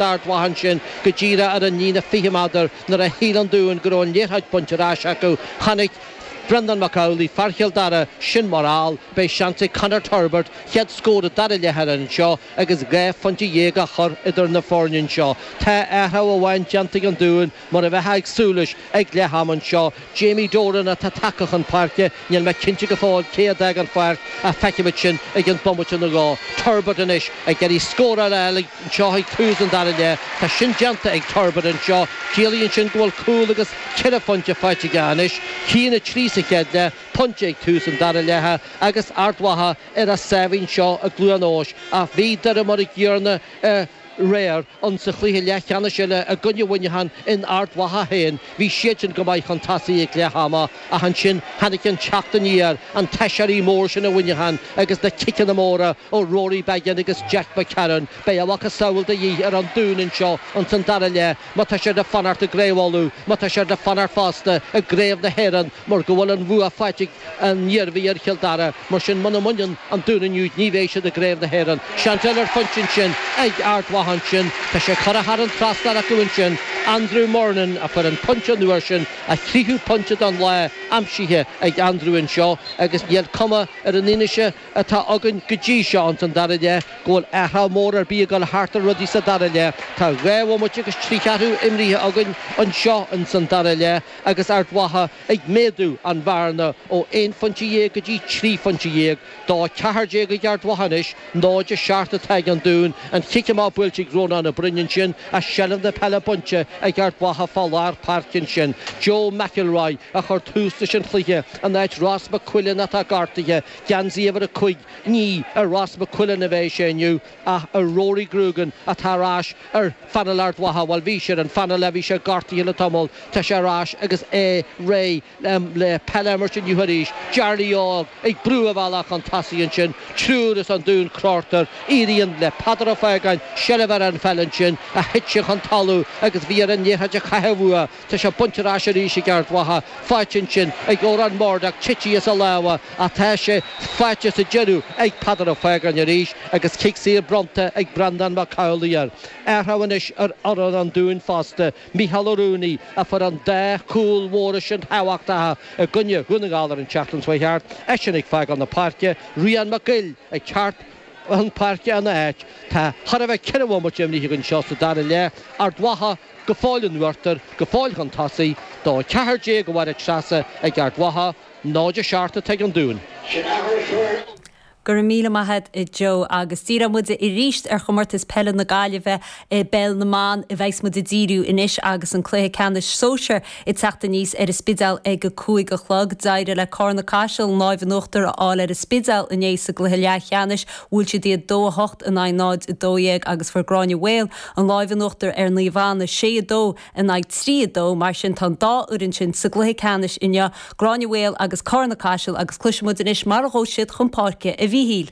Ard Mhacha ansin go díreach ar an líne 20 méadar nuair a shíl an Dún go raibh an liathróid bainte ar ais acu. Chonaic Breandán Mac Amhlaigh, fear Chill Dara, sin mar fheall. Beidh seans ag Conor Turbitt chéad scór an dara leath a fháil anseo agus 12 phointe á chur idir na foirne anseo. Tá athrú amháin déanta ag an Dún mar a bheifeá ag súil leis ag leath ama anseo. Jamie Doran atá tagtha chun páirce, níl mé cinnte go fóill cé a d'fhág an pháirc ach feicfimid sin i gceann bomaite nó dhó. Turbitt anois ag iarraidh scór a fháil anseo ag tús an dara leath. Tá sin déanta ag Turbitt anseo. Ciallaíonn sin go bhfuil cúl agus ceithre phointe faighte aige anois. 1-3 sa chéad leath, pointe ag tús an dara leatha agus Ard Mhacha ar a sáimhín seo i gCluain Eois. Ach bhí Doire mar a gcéanna aréir insa chluiche leathcheannais eile i gcoinne Mhuineacháin in Ard Mhacha féin. Bhí siadsan go maith chun tosaigh ag leath ama ach ansin tháinig an teacht aniar, an t-aiséirí mór sin i Muineachán agus na ciceanna móra ó Rory Beggan agus Jack McCarron. Beidh a mhacasamhail de dhíth ar an Dún anseo ins an dara leath má tá siad le fanacht i gCraobh Uladh, má tá siad le fanacht fosta i gCraobh na hÉireann mar go bhfuil an bhua faighte ag an Iarmhí ar Chill Dara. Mar sin, muna mbaineann an Dún inniu ní bheidh siad i gCraobh na hÉireann. Seans eile ar phointe ansin ag Ard Mhacha ansin. Tá sé curtha thar an trasnán acu ansin. Andrew Murnin a fuair an pointe an uair sin, a thríú pointe den lá aimsithe ag Andrew anseo agus níl cuma ar an fhianaise atá againn go dtí seo ins an dara leath go bhfuil athrú mór ar bith ag dul thart ar rudaí sa dara leath. Tá 2 bhomaite agus trí cheathrú imrithe againn anseo ins an dara leath agus Ard Mhacha ag méadú an bhearna ó 11 phointe go dtí 13 phointe. 2 14 ag Ard Mhacha anois, 0 7 atá ag an Dún. An chic amach buailte ag Rónán Ó Broin ansin ach seilbh na peile bainte ag Ard Mhacha fá lár páirce ansin. Joe McElroy a chuir tús leis an chluiche in áit Ross McQuillan atá gortaithe. Geansaí uimhir 5, ní ar Ross McQuillan a bheidh sé inniu ach ar Rory Grugan atá ar ais ar phainéal Ard Mhacha. Bhuel, bhí sé ar an phainéal ach bhí sé gortaithe le tamall. Tá sé ar ais agus é réidh le peil a imirt inniu arís. Jarly Óg ag brú a bhealach chun tosaigh ansin. Triúr as an Dún crochta air. Éiríonn le Peadar Ó Faogáin seilbh ar an pheil ansin ach thit sé chun talún agus bhí air an liathróid a chaitheamh uaidh. Tá sé bainte ar ais arís ag Ard Mhacha. Faighte ansin ag Odhrán Murdock, titithe as a lámha ach tá sé faighte sa deireadh ag Peadar Ó Faogáin arís agus cic saor bronnta ag Breandán Mac Amhlaigh air. Athrú anois ar fhoireann an Dúin fosta. Mícheál Ó Ruanaí a fuair an dá chúl mhóra sin thábhachtacha i gcoinne Dhún na nGall ar an tseachtain seo thart, eisean ag fágáil na páirce, Rian Mac Goill ag teacht chun páirce ina áit. Tá chóir a bheith ceithre bhomaite imrithe againn anseo sa dara leath. Ard Mhacha go fóill in uachtar, go fóill chun tosaigh, 2 14 a Mháire Treasa ag Ard Mhacha, 0 7 atá ag an Dún. Go raibh míle maith a't a Joe agus díreoidh muid arís ar Chomórtas Peile na Gaillimhe i bPeil na mBan a bheas muid ag díriú anois agus an cluiche ceannais sóisir ag teacht aníos ar an Spidéal ag a 5 a chlog. D'éirigh le Carna Caiseal an láimh in uachtar a fháil ar an Spidéal inné sa gcluiche leathcheannais. Bhuail siad iad 2 8 in aghaidh 0 12 agus fuair Gráinne Mhaol an láimh in uachtar ar Naomh Anna 6 2 in aghaidh 3, 2. Mar sin, tá an dá fhoireann sin sa gcluiche ceannais inniu, Gráinne Mhaol agus Carna Caiseal agus cloisfidh muid anois mar a ghabh siad chun páirce, a Mhíchíl.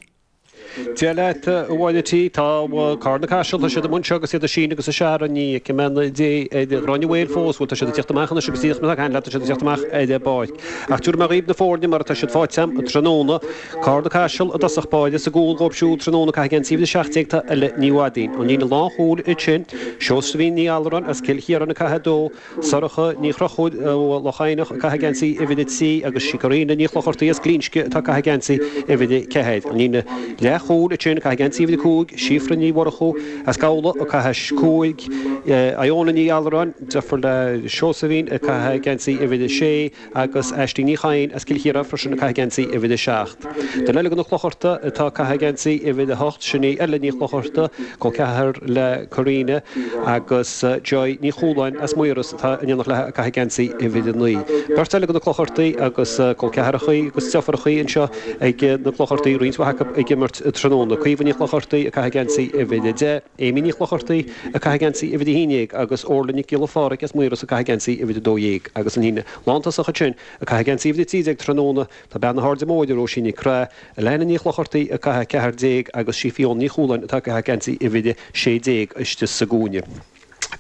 Dia leat, a Mháire T. Tá Carna Caiseal, tá siad amuigh anseo agus iad ag síneadh agus ag searradh, ní fheicim aon dé ar Ghráinne Mhaol fós, bhuel tá siad ag teacht amach anois agus díreach mar atá ag caint leat tá siad ag teacht amach ar an bpáirc. Ach tabharfaidh mé dhaoibh na foirne mar atá siad faighte agam tráthnóna. Carna Caiseal i dtosach báire sa gcúl dhóibh siúd tráthnóna ag caitheamh geansaí uimhir 17 tá Ella Ní Mhaidín. An líne lánchúil ansin, Seosaimhín Ní Allaráin as Cill Chiaráin ag caitheamh 2, Sorcha Ní Chrochúir ó Loch Eidhneach ag caitheamh geansaí uimhir 3 agus sí Karina Ní Chlochartaigh as Glinsce atá ag caitheamh geansaí uimhir 4. An líne leathchúil ansin ag caitheamh geansaí uimhir 5, Síofra Ní Mhurchú as Gabhla ag caitheamh 5, Iona Ní Allaráin, deirfiúr le Seosaimhín, ag caitheamh geansaí uimhir 6, agus Aisling Ní Chadhain as Cill Chiaráin freisin ag caitheamh geansaí uimhir 7. Duine eile de na Clochartaigh atá ag caitheamh geansaí uimhir 8, sin í Ella Ní Chlochartaigh, col ceathar le Karina, agus Joy Ní Chualáin as Maoras atá in éineacht léi ag caitheamh geansaí uimhir 9. Beirt eile de na Clochartaigh agus col ceathrachaí agus deirfiúrachaí anseo ag na Clochartaigh, roinnt mhaith acu ag imirt tráthnóna. Caoimhe Ní Chlochartaigh ag caitheamh geansaí uimhir 10. Amy Ní Chlochartaigh ag caitheamh geansaí uimhir 11 agus Orla Nic Giolla Pháraic as Maoras ag caitheamh geansaí uimhir 12 agus an líne lántosach ansin ag caitheamh geansaí uimhir 13 tráthnóna tá bean na hAirde Móire, Róisín Nic Craith, Alana Ní Chlochartaigh ag caitheamh 14 agus sí Fiona Ní Chualáin atá ag caitheamh geansaí uimhir 16 istigh sa gcúinne.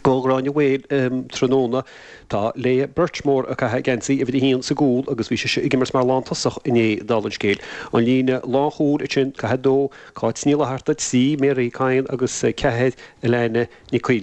Do Ghráinne Mhaol tráthnóna, tá Leah Birchmore ag caitheamh geansaí uimhir a haon sa gcúl agus bhí sise ag imirt mar lántosach inné, dála an scéil. An líne lánchúil ansin, 42, Cáit Ní Fhlatharta, 3, Mary Kyan agus 4, Alana Nic Coill.